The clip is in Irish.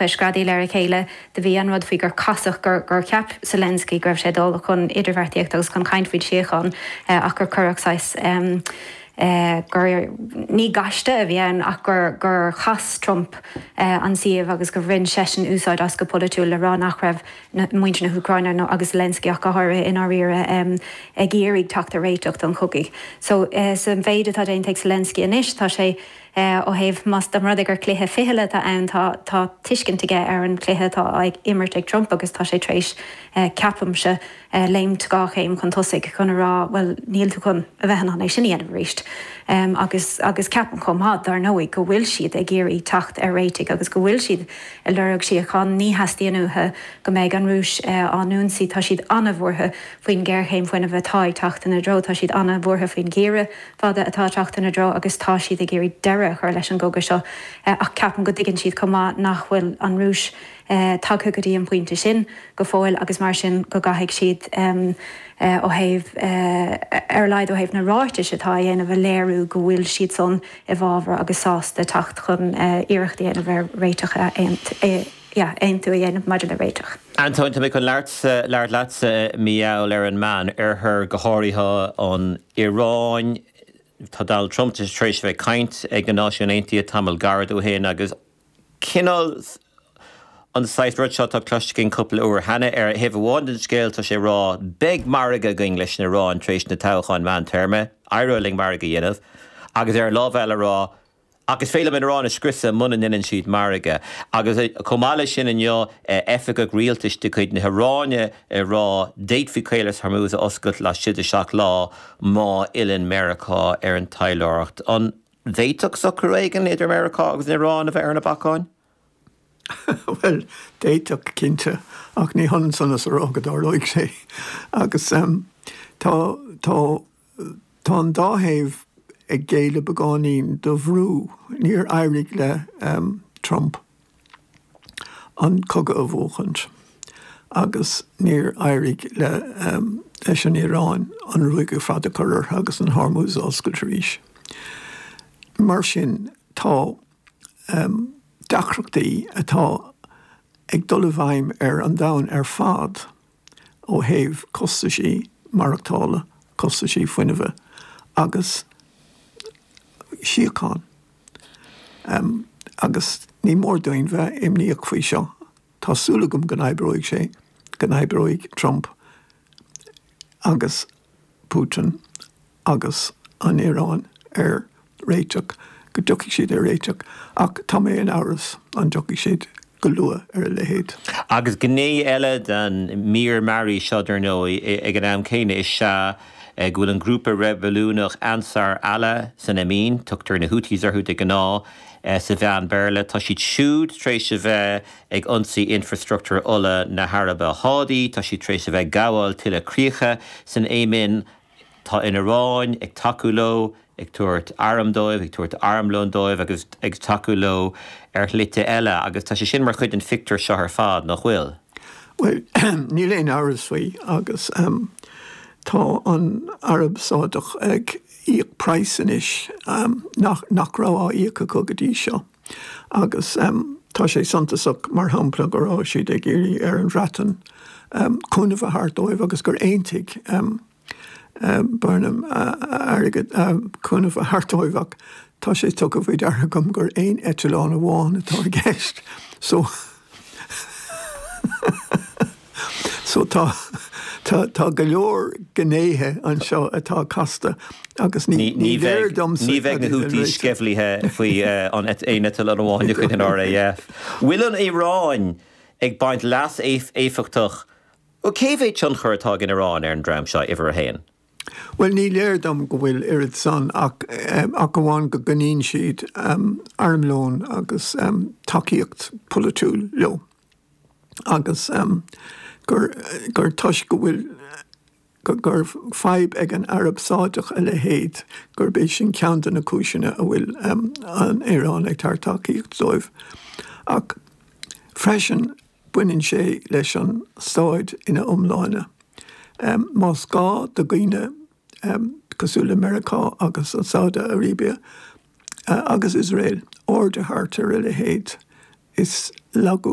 Ag screadaíl ar a chéile. Do bhí an rud faoi gur casadh, gur gur cheap Zelensky go raibh sé ag dul chun idirbheartaíocht agus chun caint faoin síocháin ach gur cuireadh saghas gur, ní gaiste a bhí ann ach gur gur chas Trump an suíomh agus gur bhain seisean úsáid as go polaitiúil le rá nach raibh muintir na hÚcráine nó agus Zelensky ach go háirithe i ndáiríre ag iarraidh teacht ar réiteach don chogadh. So sa mhéid atá déanta ag Zelensky anois tá sé Ó thaobh, más dá mba rud é gur cluiche fichille atá ann, tá tá tuiscint aige ar an chluiche atá á imirt ag Trump agus tá sé tar éis, ceapaimse, léimt 2 chéim chun tosaigh chun a rá, bhuel, níl tú chun a bheith in ann é sin a dhéanamh arís. Agus agus ceapaim chomh maith, dar ndóigh, go bhfuil siad ag iarraidh teacht ar réitigh agus go bhfuil siad ag lorg síocháin. Ní theastaíonn uathu go mbeidh an Rúis á n-ionsaí. Tá siad an-bhuartha faoin ghéarchéim fuinnimh atá ag teacht ina dtreo. Tá siad an-bhuartha faoin gheimhreadh. fada atá ag teacht ina dtreo agus tá siad ag iarraidh deireadh a chur leis an gcogadh seo ach ceapaim go dtuigeann siad chomh maith nach bhfuil an Rúis tagtha go dtí an pointe sin go fóill agus mar sin go gcaithfidh siad ó thaobh, ar a laghad ó thaobh na ráitis atá á dhéanamh, a léiriú go bhfuil siad san i bhfabhar agus sásta teacht chun iarracht a dhéanamh ar réiteach a aontú a dhéanamh maidir le réiteach. Antóin, tá mé chun labhairt leatsa mar gheall ar an Meán Oirthear, go háirithe an Iaráin. Tá Donald Trump tar éis a bheith ag caint ag na Náisiúin Aontaithe tamall gairid ó shin agus cineál an saghas rud seo atá cloiste againn cúpla uair cheana. Ar thaobh amháin den scéal tá sé ag rá beidh margadh againn leis an Iaráin tar éis na toghcháin meántéarma, éireoidh linn margadh a dhéanamh agus ar an lámh eile a rá Ach is féidir liom an Iaráin a scriosadh muna ndeineann siad margadh. Agus chomh maith leis sin inniu, oifigeach rialtais de chuid na hIaráine ag rá d'fhéadfaí Caolas Hormuz a oscailt laistigh de sheacht lá má fhilleann Meiriceá ar an taidhleoireacht. An bhféadfadh socrú éigin idir Meiriceá agus an Iaráin a bheith ar na bacáin? Bhuel, d'fhéadfadh, cinnte, ach ní hionann san is a rá go dtarlóidh sé. Agus tá, tá. Tá an dá thaobh ag géilleadh beagáinín do bhrú. Níor éirigh le Trump an cogadh a bhuachaint agus níor éirigh leis an Iaráin an ruaig ar fad a chur orthu agus an Hormuz a oscailt arís. Mar sin, tá deacrachtaí atá ag dul i bhfeidhm ar an domhan ar fad. ó thaobh costaisí maireachtála, costaisí fuinnimhe agus síocháin. Agus ní mór dúinn bheith imníoch faoi seo. Tá súil agam go n-oibreoidh sé, go n-oibreoidh Trump agus Putin agus an Iaráin ar réiteach, go dtiocfaidh siad ar réiteach, ach tá mé in amhras an dtiocfaidh siad go luath ar a leithéid. Agus gné eile den mír mearaí seo, dar ndóigh, ag an am céanna, is ea go bhfuil an grúpa reibiliúnach Ansar Allah san Éimin, tugtar na Houthis orthu de ghnáth sa mheán Béarla, tá siad siúd tar éis a bheith ag ionsaí infreastruchtúr ola na hAraibe Shádaí, tá siad tar éis a bheith ag gabháil tuilleadh críocha san Éimin. Tá an Iaráin ag tacú leo, ag tabhairt arm dóibh, ag tabhairt armlóin dóibh agus ag tacú leo ar shlite eile agus tá sé sin mar chuid den phictiúr seo ar fad, nach bhfuil? Bhuel, níl aon amhras faoi agus tá an Araib Sádach ag íoc praghas anois nach nach raibh á íoc acu go dtí seo agus tá sé suntasach, mar shampla, go raibh siad ag iarraidh ar an Bhreatain cúnamh a thabhairt dóibh agus gur aontaigh Burnham airgead, cúnamh a thabhairt dóibh ach tá sé tugtha faoi deara agam gur aon eitleán amháin atá i gceist so so tá tá tá go leor gnéithe anseo atá casta agus ní ní léir domsa Ní bheidh na Houthis sceimhlithe faoi an aon eitleán amháin de chuid an RAF. Bhfuil an Iaráin ag baint leas éifeachtach Bhuel, cé mhéad tionchar atá ag an Iaráin ar an dream seo, uimhir a haon? Bhuel, ní léir dom go bhfuil oiread san ach ach amháin go gcoinníonn siad armlón agus tacaíocht pholaitiúil leo agus gur gur toisc go bhfuil gur fadhb ag an Araib Sádach a leithéid gurb é sin ceann de na cúiseanna a bhfuil an Iaráin ag tabhairt tacaíocht dóibh. Ach freisin baineann sé leis an staid ina iomláine. Más gá do dhaoine cosúil le Meiriceá agus an Saudi Arabia agus Iosrael aird a thabhairt ar a leithéid. Is lagú.